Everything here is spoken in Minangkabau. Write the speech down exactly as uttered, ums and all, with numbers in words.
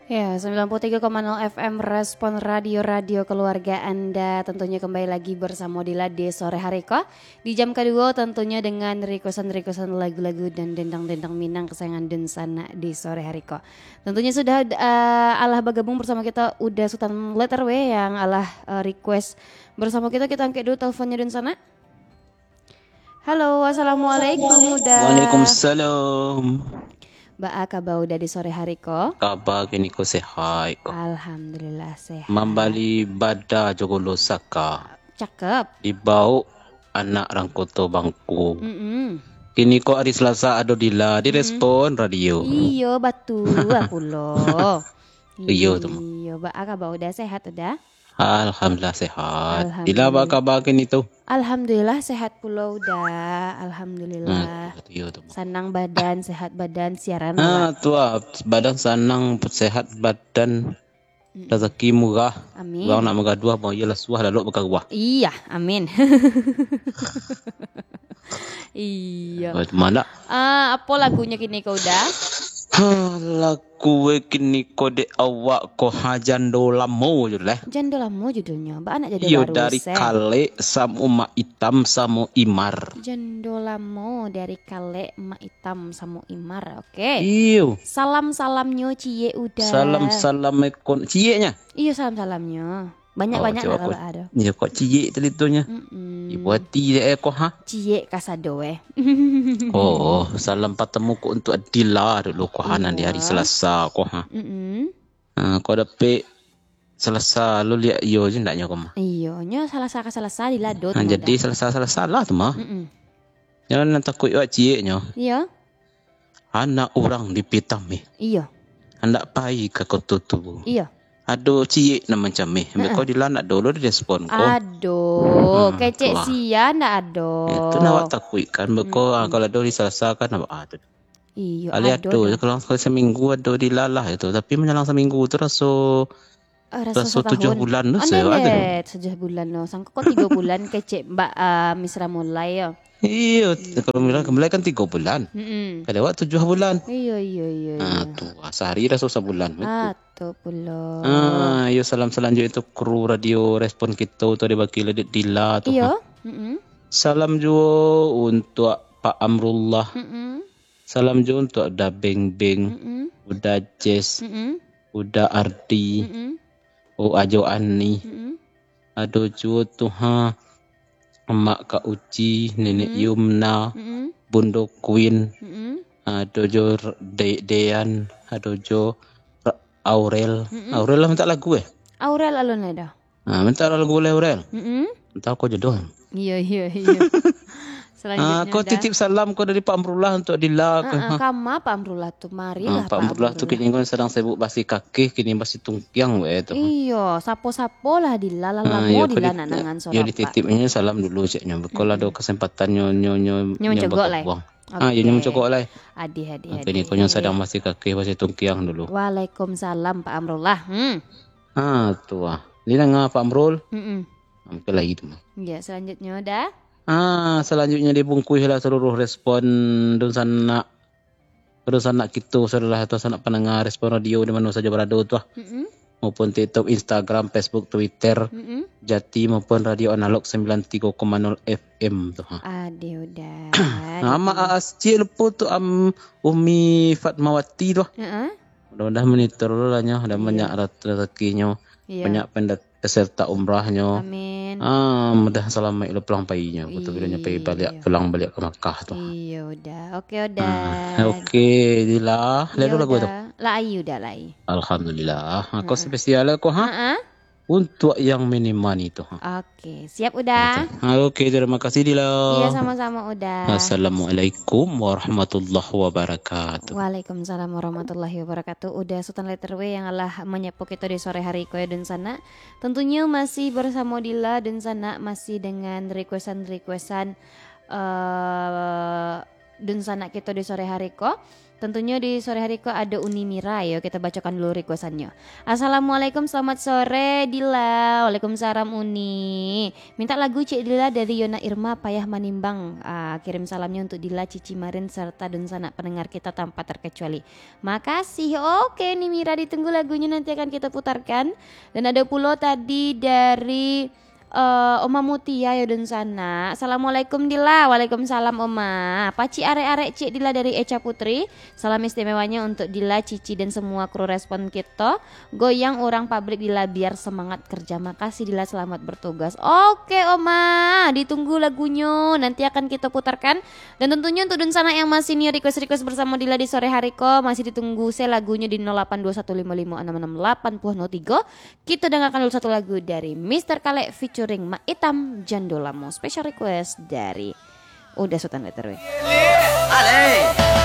Ya, sembilan puluh tiga koma nol F M Respon Radio, radio keluarga Anda. Tentunya kembali lagi bersama Dila di sore hari ko. Di jam kedua tentunya dengan requestan-requestan lagu-lagu dan dendang-dendang Minang kesayangan dunsanak di sore hari ko. Tentunya sudah, eh, alah bergabung bersama kita Uda Sutan Letter W yang alah, eh, request bersama kita. Kita angkat dulu teleponnya dunsanak. Halo, assalamualaikum, Uda. Waalaikumsalam. Baa kaba Uda di sore hari ko? Kaba kini ko sehat ko. Alhamdulillah, sehat. Mambali bada jo golo saka. Cakep. Dibaok anak rang Koto Bangku. Mm-mm. Kini ko ari Selasa ado Dila di Mm-mm. Respon Radio. Iyo, batua pulo. Iyo tu, Mak. Iyo, baa kaba Uda, sehat Uda? Alhamdulillah sehat. Alhamdulillah. Dila, baa kaba kini tu? Alhamdulillah sehat pulo Uda. Alhamdulillah. Nah, tu, tu, tu. Sanang badan, sehat badan, siaran Ah, awak. Tu ah, badan sanang, sehat badan, Mm-mm. Rezeki murah. Amin. Urang nak bagaduah, bang, iyolah suah lalok bakaruah. Iya, amin. Iya. Bagaimana? Ah, apa lagunyo kini ko Uda? Ha, lagu e kini ko dek awak ko ha, Jando Lamo judul e. Jando Lamo judulnyo. Baa nak jando Iyo, baru, dari Seh? Kalek samo Mak Itam samo Imar. Jando Lamo dari Kalek, Mak Itam samo Imar. Oke. Iyo. Salam-salamnyo ciek Uda. Salam-salam ekon cieknyo. Iyo, salam-salamnyo. Banyak-banyak Oh, nak cubo ko, lalok ado. Iyo, kok ciek tadi tu nyo. Mm-mm. Ibu hati dek e ko ha. Ciek kasado eh. Oh, salam patemu ko untuk Adila dulu ko ha, nan di hari Iyo. Selasa ko ha. Mm-mm. Ha, ko dapek Selasa lo liak iyo je ndaknyo ko mah. Iyo, nyo Selasa ka Selasa dilado tu Ha, mah jadi dah. Selasa-Selasa lah tu mah. Mm-mm. Nyo nan takuik wak cieknyo. Iyo. Anak urang di Pitameh. Iyo. Handak pai ka Koto Tubu. Iyo. Ado ciek nan mancameh. Heeh. Beko Dila ndak ado lo di respon ko. Ado. Hmm, Kecek tu ah. Sia ndak ado. Itu nak awak takuik kan. Beko, Mm-mm. ah, kalau ado di Selasa kan awak ah tu. Iyo, Kali ado ado dah. je, kalau sekali seminggu ado Dila lah itu. Tapi manyalang seminggu tu raso Ah, raso Raso tujuah satahun. bulan tu, Anda saya ada. lihat, tujuah bulan lo. Sangko kok tigo bulan kecek Mbak, ah, Misra mulai yo. Iyo, Hmm. kalau Misra mulai kan tigo bulan. Mm-mm. Kalau awak tujuah bulan. Iyo, iyo, iyo, Ah, iyo. tu, ah, sehari raso sabulan. Ah, tu pulo. Ah, iyo, salam salanjuik tu kru radio Respon Kito tu dibagi ladit Dila tu. Iyo. Ha. Mm-mm. Salam juo untuk Pak Amrullah. Mm-mm. Salam juo untuk Uda Beng Beng, Mm-mm. Uda Jess, Mm-mm. Uda Ardi, Mm-mm. Oh, Ajo Ani. Mm-mm. Ado juo tu ha, Mak Kak Uci, Nenek Mm-mm. Yumna, Mm-mm. Bundo Queen. Mm-mm. Ado jo R-, De-, Dean, ado jo R-, Aurel. Mm-mm. Aurel lah mintak lagu eh? Aurel alun lai dah. Ah, mintak lagu lai Aurel. Mm-mm. Entah ko jodoh. Iyo, iyo, iyo. Ah, Selanjutnya ko dah. titip salam ko dari Pak Amrullah untuk Dila ko. Ah, ah, Ha. kama Pak Amrullah tu, marilah Ah, Pak Pak Amrullah tu Amrullah. kini ko sadang sibuk basi kakih, kini basi tungkiang bae tu. Iyo, sapo-sapo lah Dila, lah Ah, lamo iyo, ko Dila di-, nak nangan iyo, suara Pak. dititipnyo salam dulu ceknyo. Beko lah Mm-mm. ado kesempatan nyo, nyo, nyo, Nyo nyo mencogok lah. bakabuang. Ah, iyo, nyo Oke. mencogok lah. Adih, adih, Ah, kini adih. ko nyo sadang basi kakih, basi tungkiang dulu. Waalaikumsalam, Pak Amrullah. Hmm. Ah, tu ah. Didanga Pak Amrul? Mm-mm. Ah, mungkin lagi tu mah. Ya, selanjutnya dah. Ah, selanjutnya dibungkuih lah seluruh respon dunsanak, dunsanak kito, saudara atau sanak pandanga Respon Radio di mano sajo barado tu ah. Mm-mm. Maupun TikTok, Instagram, Facebook, Twitter, Mm-mm. Jati maupun Radio Analog sembilan tiga koma nol F M tu ha. Adih, Uda. Nama Adih. A S C lupo tu, am, Umi Fatmawati tu ah. Heeh. Mudah-mudahan monitor dulu lah nyo, dan Iya. banyak rat-, rezekinyo, Iya. banyak pendat-, peserta umrahnyo. Amin. Ah, mudah salamaik lo pulang painyo. Betul, bila nyo pai baliak, Iya. pulang baliak ka Makkah tu. Iya, Uda. Oke, Uda. Ah, oke, Dila. Iya, Lalu lagu Uda. tu? Lai, Uda, lai. Alhamdulillah. Aku Hmm. spesial aku, ha? Ha-ha. Untuk yang mini-mani tu, ha. Oke, siap, Uda. Oke. Ah, oke, terima kasih, Dila. Iya, sama-sama, Uda. Assalamualaikum warahmatullahi wabarakatuh. Waalaikumsalam warahmatullahi wabarakatuh. Uda Sultan Letter W yang alah manyapo kito di sore hari ko ya, dunsanak. Tentunya masih bersamo Dila, dunsanak, masih dengan requestan-requestan, eh, dunsanak kito di sore hari ko. Tentunyo di sore hari ko ado Uni Mira yo, kita bacokan dulu requestannyo. "Assalamualaikum, selamat sore Dila." "Waalaikumsalam Uni. Minta lagu Cik Dila dari Yona Irma, Payah Manimbang." Ah, kirim salamnyo untuk Dila, Cici Marin, serta dunsanak pendengar kita tanpa terkecuali. Makasih. Oke, Uni Mira, ditunggu lagunya, nanti akan kita putarkan. Dan ada pulo tadi dari eh, Oma Mutia yo dunsanak. "Assalamualaikum Dila." "Waalaikumsalam Oma. Pacik arek-arek Cik Dila dari Echa Putri. Salam istimewanya untuk Dila, Cici, dan semua kru Respon Kito. Goyang urang pabrik Dila biar semangat kerja. Makasih Dila, selamat bertugas." Oke Oma, ditunggu lagunyo. Nanti akan kita putarkan. Dan tentunyo untuk dunsanak yang masih nio request-request bersamo Dila di sore hari ko, masih ditunggu se lagunyo di nol delapan dua satu limo limo enam enam delapan nol tiga. Kita dengarkan dulu satu lagu dari Mister Kalek featuring Mak Itam, Jando Lamo. Special request dari Uda Sutan Letter W.